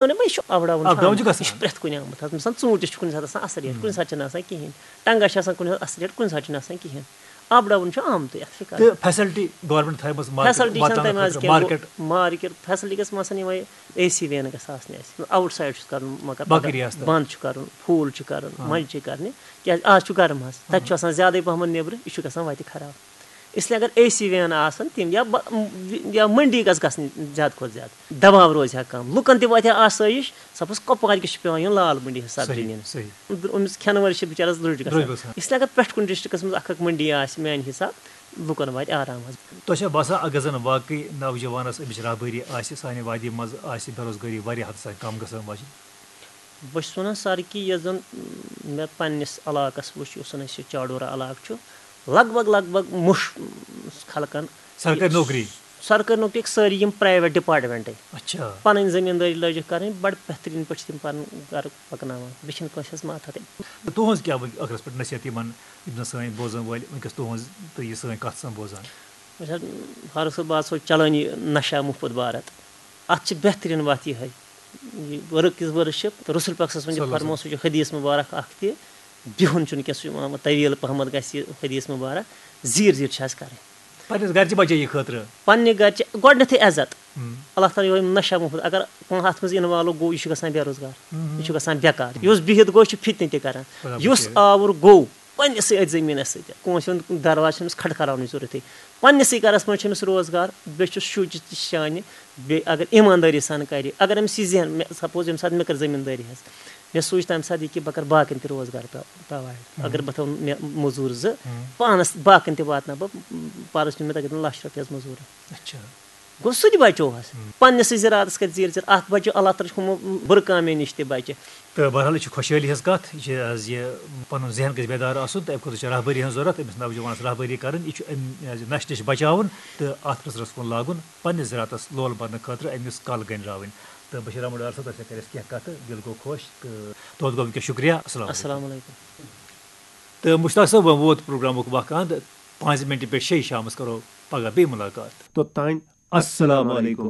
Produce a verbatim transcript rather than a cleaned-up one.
وَنان، وۄنۍ چھُ اَپ ڈاوُن چھُ اَپ ڈاوُن چھُ آمُت۔ گژھان۔ یہِ چھُ پرٛٮ۪تھ کُنہِ آمُت۔ حظ، مثلاً، ژوٗنٛٹھِس چھُ کُنہِ ساتہٕ آسان اَصٕل ریٹ، کُنہِ ساتہٕ چھِنہٕ آسان کِہیٖنۍ، ٹنٛگَس چھِ آسان کُنہِ ساتہٕ اَصٕل ریٹ، کُنہِ ساتہٕ چھِنہٕ آسان کِہیٖنۍ۔ اَپ ڈاوُن چھُ آمتُے، اَتھ کیٛاہ کَرو؟ تہٕ فیسلٹی گورمنٹ تھایہِ مَژٕ فیسلٹی چھَنہٕ واتناونہٕ تَمہِ آز خٲطرٕ کینٛہہ۔ مارکیٹ۔ مارکیٹ فیسلٹی گژھِ مثلاً یِمَے اے سی وین گژھِ آسنہِ اَسہِ، آوُٹ سایڈ چھُس کَرُن، مگر باقٕے پَگاہ ریاستَن۔ بنٛد چھُ کَرُن، فُل چھُ کَرُن، آ۔ مَنٛجہِ چھِ کَرنہِ، کیٛازِ آز چھُ گرم حظ، تَتہِ چھُ آسان زیادَے پَہمَتھ نیٚبرٕ، یہِ چھُ گژھان وَتہِ خراب۔ اِسلیے اگر اے سی وین آسَن تِم یا بہ- یا مٔنڈی گژھِ گژھٕنۍ زیادٕ کھۄتہٕ زیادٕ، دَباو روزِ ہا کَم، لُکَن تہِ واتہِ ہا آسٲیِش۔ سَپوز کۄپوارِ کِس چھُ پٮ۪وان یُن لال مٔنڈی حِساب صحیح، زٔمیٖن۔ صحیح۔ أمِس کھٮ۪نہٕ وٲلِس چھِ بِچارَس درٛوٚج گژھان۔ درٛوٚج گژھان۔ اِسلیے اگر پرٛٮ۪تھ کُنہِ ڈِسٹرٛکَس منٛز اَکھ اَکھ مٔنڈی آسہِ میٛانہِ حِساب، لُکَن واتہِ آرام حظ۔ تۄہہِ چھا باسان، اگر زَن واقعی نوجوانَس أمِس رہبٲری آسہِ، سانہِ وادی منٛز آسہِ بے روزگٲری واریاہ حدٕ تام کَم گژھان واجِنۍ؟ بہٕ چھُس وَنان سَر کہِ یۄس زَن مےٚ پنٛنِس علاقَس وٕچھ، یُس زَن اَسہِ یہِ چاڈورہ علاقہٕ چھُ، لگ بگ لگ بگ مُش خلقَن سرکٲرۍ نوکری۔ سرکٲرۍ نوکری سٲری یِم پرٛایویٹ ڈِپارٹمٮ۪نٛٹٕے۔ اچھا۔ پَنٕنۍ زٔمیٖندٲری لٲجِکھ کَرٕنۍ، بَڑٕ بہتریٖن پٲٹھۍ چھِ تِم پَنُن گَرٕ پَکناوان، بیٚیہِ چھِنہٕ کٲنٛسہِ ہٕنٛز ماتھَتٕے۔ تہٕ تُہٕنٛز کیٛاہ وۄنۍ ٲخرَس پٮ۪ٹھ نصیحت یِمَن، یِم زَن سٲنۍ بوزَن وٲلۍ وٕنکیٚس تُہٕنٛز تہٕ یہِ سٲنۍ کَتھ سَن بوزان؟ وٕچھ حظ، فاروق صٲب، بہٕ حظ سوچ چَلٲنی نشہ مُفت بھارت، اَتھ چھِ بہتریٖن وَتھ یِہوٚے۔ یہِ ؤرٕک کِس ؤرٕس چھِ رسول پاک صلی اللہ علیہ وسلم چھُ صلی اللہ علیہ فرمومُت، سُہ چھُ حدیث مُبارک اَکھ تہِ، بِہُن چھُنہٕ کینٛہہ، سُہ چھُ وَنان طویٖل پَہمَتھ گژھِ یہِ حدیث مُبارک، زیٖر زیٖر چھِ حظ کَرٕنۍ۔ پنٛنِس گَرِ چہِ بَچے یہِ خٲطرٕ۔ پنٛنہِ گَرِ چھِ گۄڈٕنٮ۪تھٕے عزت، ہُم۔ اللہ تعالیٰ یِہوٚے نشہ مُفت، اگر کانٛہہ اَتھ منٛز اِنوالو گوٚو، یہِ چھُ گژھان بے روزگار، ہُم۔ یہِ چھُ گژھان بیکار۔ یُس بِہِتھ گوٚو، یہِ چھُ فِتنہٕ تہِ کَران۔ برابر یُس چھُ۔ آوُر گوٚو پنٛنِسٕے أتھۍ زٔمیٖنَس سۭتۍ، کٲنٛسہِ ہُنٛد دَرواز چھُنہٕ أمِس کھٹکھراونٕچ ضوٚرَتھٕے۔ پنٛنِسٕے گَرَس منٛز چھُ أمِس روزگار، بیٚیہِ چھُ شُرۍ تہِ شانہِ، بیٚیہِ اگر ایٖماندٲری سان کَرِ، اگر أمِس یہِ ذہن، مےٚ سَپوز ییٚمہِ ساتہٕ مےٚ کٔر زٔمیٖندٲری حظ، مےٚ سوٗنٛچ تَمہِ ساتہٕ یہِ کہِ بہٕ کَرٕ باقٕیَن تہِ روزگار پرٛو- پرٛووایِڈ۔ اگر بہٕ تھاوٕ مےٚ مٔزوٗر زٕ، ہُم۔ پانَس باقٕیَن تہِ واتناوٕ بہٕ، پَرُس نیوٗ مےٚ تَتٮ۪ن لَچھ رۄپیہِ حظ مٔزوٗرَس۔ اچھا۔ گوٚو سُہ تہِ بَچو حظ۔ ہُم۔ پنٛنِسٕے زِراعتَس کَتہِ زیٖر زیٖر، اَتھ بَچو اللہ تعالیٰ چھُ ہُمو بُرٕ کامٮ۪ن نِش تہِ بَچہِ۔ تہٕ بہرحال، یہِ چھِ خۄشحٲلی ہٕنٛز کَتھ، یہِ چھِ حظ یہِ پَنُن ذہن گژھِ بیدار آسُن، تہٕ اَمہِ خٲطرٕ چھِ رہبٲری ہٕنٛز ضوٚرَتھ، أمِس نوجوانَس رہبٲری کَرٕنۍ، یہِ چھُ اَمہِ حظ یہِ نَشہِ نِش بَچاوُن تہٕ اَتھ رٕژرَس کُن لاگُن، پنٛنِس زِراعتَس لول بَرنہٕ خٲطرٕ أمِس کَل گٔنٛڈراوٕنۍ۔ تہٕ بشیٖر احمد ڈار صٲب، تۄہہِ سۭتۍ کَرِ اَسہِ کینٛہہ کَتھٕ، دِل گوٚو خۄش تہٕ دۄد گوٚو وٕنکیٚس۔ شُکریہ، السلام علیکم۔ السلام علیکم۔ تہٕ مشتاق صٲب، وۄنۍ ووت پروگرامُک وقت اند، پانٛژِ مِنٹہِ پٮ۪ٹھ شیٚیہِ شامَس کرو پگاہ بیٚیہِ مُلاقات۔ توٚتام السلام علیکم۔